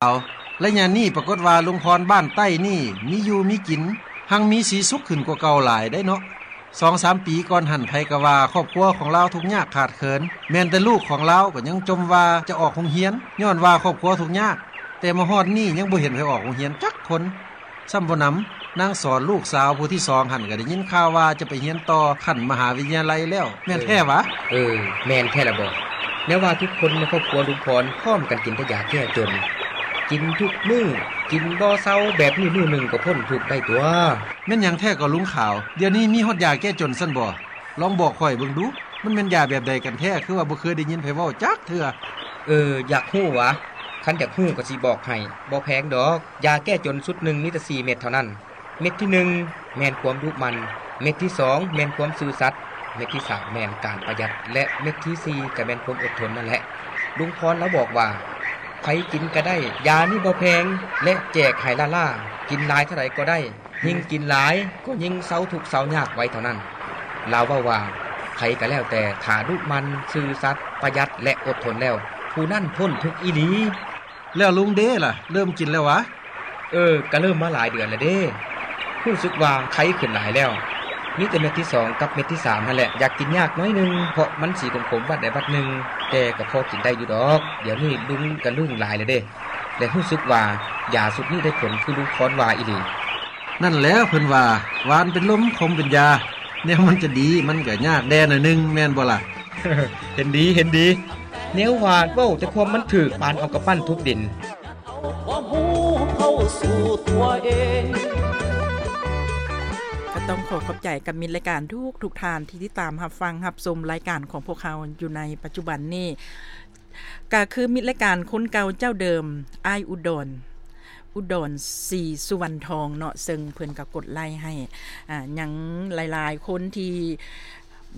ລາວ. ໄລຍະນີ້ປາກົດວ່າລຸງພອນບ້ານໃຕ້ນີ້ມີຢູ່ມີກິນ ຮັ່ງມີສີສຸກຂຶ້ນກວ່າເກົ່າຫຼາຍໄດ໋ເນາະ. ສອງສາມປີກ່ອນຫັ້ນ ໃຜກໍວ່າຄອບຄົວຂອງລາວທຸກຍາກຂາດເຂີນ, ແມ່ນແຕ່ລູກຂອງລາວກໍຍັງຈົ່ມວ່າຈະອອກໂຮງຮຽນ ຍ້ອນວ່າຄອບຄົວທຸກຍາກ, ແຕ່ມາຮອດນີ້ຍັງບໍ່ເຫັນໃຜອອກໂຮງຮຽນຈັກຄົນ. ຊ້ຳບໍ່ໜຳ ນາງສອນລູກສາວຜູ້ທີສອງຫັ້ນ ກໍໄດ້ຍິນຂ່າວວ່າຈະໄປຮຽນຕໍ່ຂັ້ນມະຫາວິທະຍາໄລແລ້ວ ແມ່ນແທ້ຫວາ? ເອີ ແມ່ນແທ້ລະບໍ. ແນວວ່າທຸກຄົນໃນຄອບຄົວລຸງພອນພ້ອມກັນກິນແຕ່ຢາແກ້ຈົນ, ກິນທຸກມື້ ກິນບໍ່ເຊົາແບບນີ້ ມື້ໜຶ່ງກໍພົ້ນທຸກໄດ້ຕົວະ. ແມ່ນຫຍັງແທ້ກໍລຸງຂາວ? ດຽວນີ້ມີຮອດຢາແກ້ຈົນຊັ້ນບໍ? ລອງບອກຂ້ອຍເບິ່ງດູ, ມັນແມ່ນຢາແບບໃດກັນແທ້? ຄືວ່າບໍ່ເຄີຍໄດ້ຍິນໃຜເວົ້າຈັກເທື່ອ. ເອີ ຢາກຮູ້ຫວາ? ຄັນຢາກຮູ້ກໍຊິບອກໃຫ້. ບໍ່ແພງດອກ. ຢາແກ້ຈົນຊຸດໜຶ່ງມີແຕ່ສີ່ເມັດເທົ່ານັ້ນ. ເມັດທີໜຶ່ງແມ່ນຄວາມດຸໝັ່ນ, ເມັດທີສອງແມ່ນຄວາມຊື່ສັດ, ເມັດທີສາມແມ່ນການປະຢັດ ແລະ ເມັດທີສີ່ກໍແມ່ນຄວາມອົດທົນນັ້ນແຫຼະ. ລຸງພອນລາວບອກວ່າ ໃຜກິນກໍໄດ້, ຢານີ້ບໍ່ແພງ ແລະ ແຈກໃຫ້ລ້າໆ, ກິນຫຼາຍເທົ່າໃດກໍໄດ້. ຍິ່ງກິນຫຼາຍກໍຍິ່ງເຊົາທຸກເຊົາຍາກໄວເທົ່ານັ້ນ. ລາວເວົ້າວ່າ ໃຜກໍແລ້ວແຕ່ ຖ້າດຸໝັ່ນ, ຊື່ສັດ, ປະຢັດ ແລະ ອົດທົນແລ້ວ, ຜູ້ນັ້ນພົ້ນທຸກອີ່ຫຼີ. ແລ້ວລຸງເດລະ ເລີ່ມກິນແລ້ວຫວາ? ເອີ ກະເລີ່ມມາຫຼາຍເດືອນແລ້ວເດ້. ຮູ້ສຶກວ່າໄຄຂຶ້ນຫຼາຍແລ້ວ. ມີແຕ່ເມັດທີສອງກັບເມັດທີສາມຫັ້ນແຫຼະ ຢາກກິນຍາກໜ້ອຍໜຶ່ງ ເພາະມັນສີຂົມໆ ບັດໃດບັດໜຶ່ງ, ແຕ່ກໍພໍກິນໄດ້ຢູ່ດອກ. ດຽວນີ້ລຸງກະລຶ້ງຫຼາຍແລ້ວເດ້ ແລະ ຮູ້ສຶກວ່າຢາຊຸດນີ້ໄດ້ຜົນຄືລຸງພອນວ່າອີ່ຫຼີ. ນັ້ນແຫຼະ ເພິ່ນວ່າ ຫວານເປັນລົມ ຂົມເປັນຢາ, ແນວມັນຈະດີ ມັນກະຍາກແດ່ໜ້ອຍໜຶ່ງ ແມ່ນບໍ່ລະ? ເຫັນດີ ເຫັນດີ. ແນວວ່າເວົ້າແຕ່ຄວາມມັນຖືກ ປານເອົາກຳປັ້ນທຸບດິນ. ກໍຕ້ອງຂໍຂອບໃຈກັບມິດລາຍການທຸກໆທ່ານທີ່ຕິດຕາມຮັບຟັງຮັບຊົມລາຍການຂອງພວກເຮົາຢູ່ໃນປັດຈຸບັນນີ້. ກະຄືມິດລາຍການຄົນເກົ່າເຈົ້າເດີມ ອ້າຍອຸດອນ ອຸດອນ ສີສຸວັນທອງເນາະ, ເຊິ່ງເພິ່ນກໍກົດໄລ້ໃຫ້ ອາ ຍັງຫຼາຍໆຄົນທີ່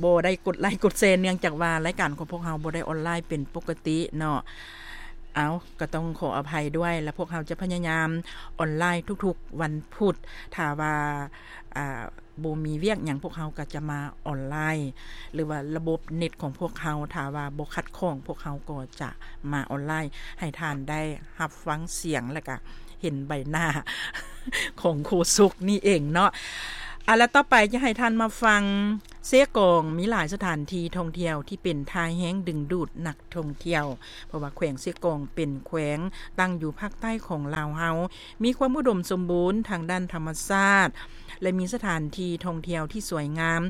ບໍ່ໄດ້ກົດໄລ້ກົດແຊ ເນື່ອງຈາກວ່າລາຍການຂອງພວກເຮົາບໍ່ໄດ້ອອນລາຍເປັນປົກກະຕິເນາະ. ເອົາ ກໍຕ້ອງຂໍອະໄພດ້ວຍ ແລະ ພວກເຮົາຈະພະຍາຍາມອອນລາຍທຸກໆວັນພຸດ ຖ້າວ່າ ອາ ບໍ່ມີວຽກຫຍັງ ພວກເຮົາກໍຈະມາອອນລາຍ ຫຼືວ່າລະບົບເນັດຂອງພວກເຮົາ ຖ້າວ່າບໍ່ຂັດຂ້ອງ ພວກເຮົາກໍຈະມາອອນລາຍ ໃຫ້ທ່ານໄດ້ຮັບຟັງສຽງ ແລະກະເຫັນໃບໜ້າຂອງໂຄສົກນີ້ເອງເນາະ. ອາ ແລະຕໍ່ໄປຈະໃຫ້ທ່ານມາຟັງ ເຊກອງມີຫຼາຍສະຖານທີ່ທ່ອງທ່ຽວທີ່ເປັນທ່າແຮງດຶງດູດນັກທ່ອງທ່ຽວ ເພາະວ່າແຂວງເຊກອງເປັນແຂວງຕັ້ງຢູ່ພາກໃຕ້ຂອງລາວເຮົາ ມີຄວາມອຸດົມສົມບູນທາງດ້ານທຳມະຊາດ ແລະ ມີສະຖານທີ່ທ່ອງທ່ຽວທີ່ສວຍງາມ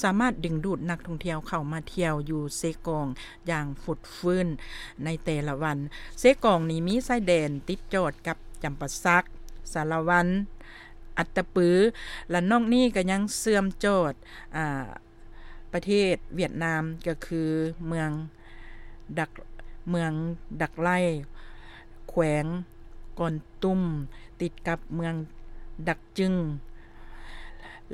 ສາມາດດຶງດູດນັກທ່ອງທ່ຽວເຂົ້າມາທ່ຽວຢູ່ເຊກອງຢ່າງຟົດຟື້ນໃນແຕ່ລະວັນ. ເຊກອງນີ້ມີຊາຍແດນຕິດຈອດກັບຈຳປາສັກ, ສາລະວັນ, ອັດຕະປື ແລະ ນອກນີ້ກໍຍັງເຊື່ອມຈອດ ອາ ປະເທດຫວຽດນາມ ກໍຄືເມືອງດັກ ເມືອງດັກໄລ ແຂວງກອນຕຸມ ຕິດກັບເມືອງດັກຈຶງ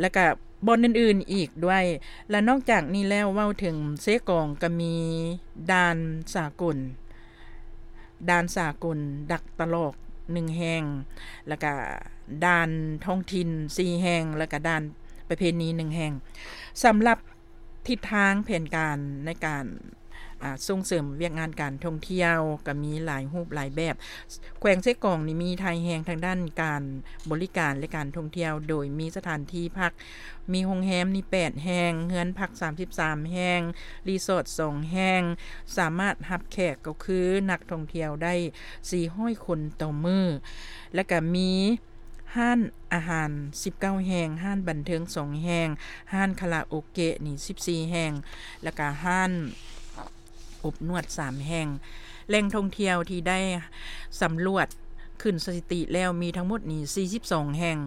ແລະກະບ່ອນອື່ນໆອີກດ້ວຍ. ແລະນອກຈາກນີ້ແລ້ວ ເວົ້າເຖິງເຊກອງ ກະມີດ່ານສາກົນ ດ່ານສາກົນດັກຕະຫຼອກໜຶ່ງແຫ່ງ, ແລ້ວກະດ່ານທ້ອງຖິ່ນສີ່ແຫ່ງ, ແລ້ວກະດ່ານປະເພນີໜຶ່ງແຫ່ງ. ສຳລັບທິດທາງແຜນການໃນການ ອາ ສົ່ງເສີມວຽກງານການທ່ອງທ່ຽວ ກະມີຫຼາຍຮູບຫຼາຍແບບ. ແຂວງເຊກອງນີ້ມີທ່າແຮງທາງດ້ານການບໍລິການ ແລະ ການທ່ອງທ່ຽວ ໂດຍມີສະຖານທີ່ພັກ ມີໂຮງແຮມນີ້ແປດແຫ່ງ, ເຮືອນພັກສາມສິບສາມແຫ່ງ, ຣີສອດສອງແຫ່ງ, ສາມາດຮັບແຂກກໍຄືນັກທ່ອງທ່ຽວໄດ້ສີ່ຮ້ອຍຄົນຕໍ່ມື້, ແລ້ວກະມີຮ້ານອາຫານສິບເກົ້າແຫ່ງ, ຮ້ານບັນເທີງສອງແຫ່ງ, ຮ້ານຄາຣາໂອເກະນີ້ສິບສີ່ແຫ່ງ, ແລ້ວກະຮ້ານ ອົບນວດສາມແຫ່ງ. ແຫຼ່ງທ່ອງທ່ຽວທີ່ໄດ້ສຳຫຼວດຂຶ້ນສະຖິຕິແລ້ວມີທັງໝົດນີ້ສີ່ສິບສອງແຫ່ງ.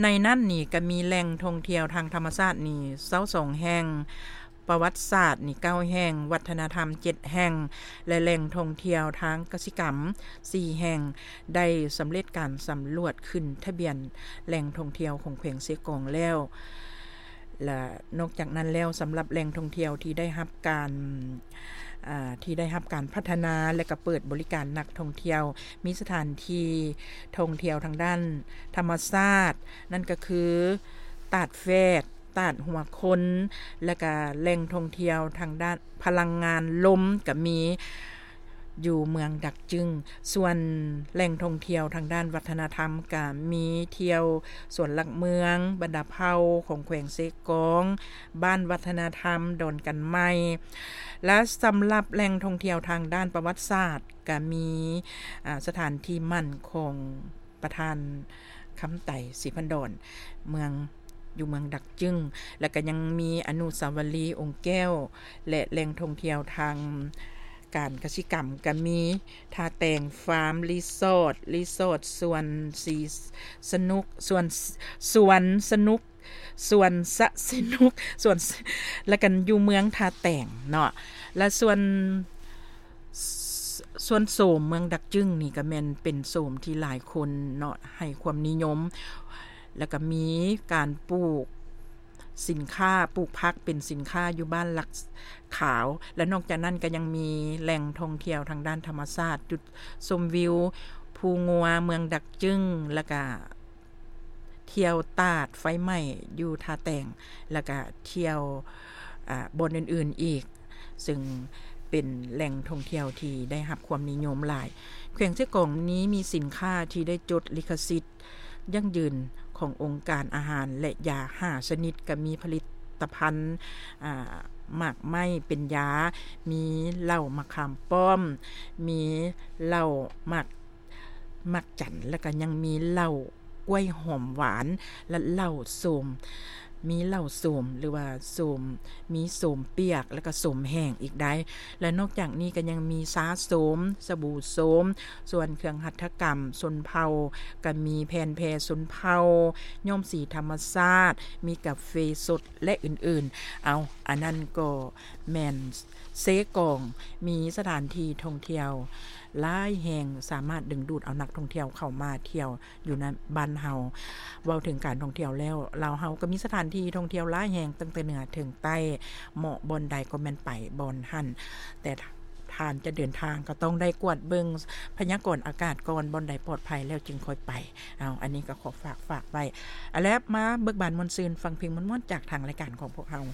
ໃນນັ້ນນີ້ກະມີແຫຼ່ງທ່ອງທ່ຽວທາງທຳມະຊາດນີ້ຊາວສອງແຫ່ງ, ປະຫວັດສາດນີ້ເກົ້າແຫ່ງ, ວັດທະນະທຳເຈັດແຫ່ງ ແລະ ແຫຼ່ງທ່ອງທ່ຽວທາງກະສິກຳສີ່ແຫ່ງ ໄດ້ສຳເລັດການສຳຫຼວດຂຶ້ນທະບຽນແຫຼ່ງທ່ອງທ່ຽວຂອງແຂວງເຊກອງແລ້ວ. ແລະ ນອກຈາກນັ້ນແລ້ວ ສຳລັບແຫຼ່ງທ່ອງທ່ຽວທີ່ໄດ້ຮັບການ ອາ ທີ່ໄດ້ຮັບການພັດທະນາ ແລະ ກະເປີດບໍລິການນັກທ່ອງທ່ຽວ ມີສະຖານທີ່ທ່ອງທ່ຽວທາງດ້ານທຳມະຊາດ ນັ້ນກະຄື ຕາດແຟດ, ຕາດຫົວຄົນ ແລະ ກະແຫຼ່ງທ່ອງທ່ຽວທາງດ້ານພະລັງງານລົມ ກະມີ ຢູ່ເມືອງດັກຈຶງ. ສ່ວນແຫຼ່ງທ່ອງທ່ຽວທາງດ້ານວັດທະນະທຳ ກະມີທ່ຽວສວນຫຼັກເມືອງ, ບັນດາເຜົ່າຂອງແຂວງເຊກອງ, ບ້ານວັດທະນະທຳດອນກັນໃໝ່ ແລະ ສຳລັບແຫຼ່ງທ່ອງທ່ຽວທາງດ້ານປະຫວັດສາດ ກະມີ ອາ ສະຖານທີ່ໝັ້ນຂອງ ປະທານຄຳໄຕ ສີພັນດອນ ເມືອງ ຢູ່ເມືອງດັກຈຶງ ແລະ ກະຍັງມີອະນຸສາວະລີອົງແກ້ວ ແລະ ແຫຼ່ງທ່ອງທ່ຽວທາງການກະສິກຳ ກະມີທ່າແຕງຟາມຣີສອດ, ຣີສອດສວນສີສະໜຸກ, ສວນ ສວນສະໜຸກ, ສວນສະ ສະໜຸກ ສວນ ແລະ ກັນຢູ່ເມືອງທ່າແຕງເນາະ ແລະ ສ່ວນ ສ- ສ່ວນໂສມເມືອງດັກຈຶງນີ້ ກະແມ່ນເປັນໂສມທີ່ຫຼາຍຄົນເນາະ ໃຫ້ຄວາມນິຍົມ ແລະ ກະມີການປູກສິນຄ້າ, ປູກຜັກເປັນສິນຄ້າຢູ່ບ້ານຫຼັກຂາວ ແລະ ນອກຈາກນັ້ນກະຍັງມີແຫຼ່ງທ່ອງທ່ຽວທາງດ້ານທຳມະຊາດ, ຈຸດຊົມວິວພູງົວເມືອງດັກຈຶງ ແລະ ກະ ທ່ຽວຕາດໄຟໄໝ້ຢູ່ທ່າແຕງ ແລ້ວກະທ່ຽວ ອາ ບ່ອນອື່ນໆອີກ ເຊິ່ງເປັນແຫຼ່ງທ່ອງທ່ຽວທີ່ໄດ້ຮັບຄວາມນິຍົມຫຼາຍ. ແຂວງເຊກອງນີ້ມີສິນຄ້າທີ່ໄດ້ຈົດລິຂະສິດຢັ້ງຢືນຂອງອົງການອາຫານ ແລະ ຢາຫ້າຊະນິດ, ກະມີຜະລິດຕະພັນ ອາ ໝາກໄມ້ເປັນຢາ, ມີເຫຼົ້າໝາກຂາມປ້ອມ, ມີເຫຼົ້າໝາກ ໝາກຈັນ ແລ້ວກະຍັງມີເຫຼົ້າກ້ວຍຫອມຫວານ ແລະ ເຫຼົ້າໂສມ, ມີເຫຼົ້າໂສມ ຫຼືວ່າໂສມ ມີໂສມປຽກ ແລ້ວກະໂສມແຫ້ງອີກໄດ໋ ແລະ ນອກຈາກນີ້ກະຍັງມີຊາໂສມ, ສະບູໂສມ, ສ່ວນເຄື່ອງຫັດຖະກຳຊົນເຜົ່າ ກະມີແຜ່ນແພຊົນເຜົ່າ, ຍ້ອມສີທຳມະຊາດ, ມີກາເຟສົດ ແລະ ອື່ນໆ. ເອົາ ອັນນັ້ນກໍແມ່ນເຊກອງ ມີສະຖານທີ່ທ່ອງທ່ຽວ ຫຼາຍແຫ່ງ ສາມາດດຶງດູດເອົານັກທ່ອງທ່ຽວເຂົ້າມາທ່ຽວຢູ່ໃນບ້ານເຮົາ. ເວົ້າເຖິງການທ່ອງທ່ຽວແລ້ວ ລາວເຮົາກໍມີສະຖານທີ່ທ່ອງທ່ຽວຫຼາຍແຫ່ງ ຕັ້ງແຕ່ເໜືອເຖິງໃຕ້, ເໝາະບ່ອນໃດກໍແມ່ນໄປບ່ອນຫັ້ນ, ແຕ່ທ່ານຈະເດີນທາງກໍຕ້ອງໄດ້ກວດເບິ່ງພະຍາກອນອາກາດກ່ອນ, ບ່ອນໃດປອດໄພແລ້ວຈຶ່ງຄ່ອຍໄປ. ເອົາ ອັນນີ້ກໍຂໍຝາກ, ຝາກໄວ້. ເອົາລະ ມາເບີກບານມ່ວນຊື່ນ, ຟັງເພງມ່ວນໆຈາກທາງລາຍການຂອງພວກເຮົາ.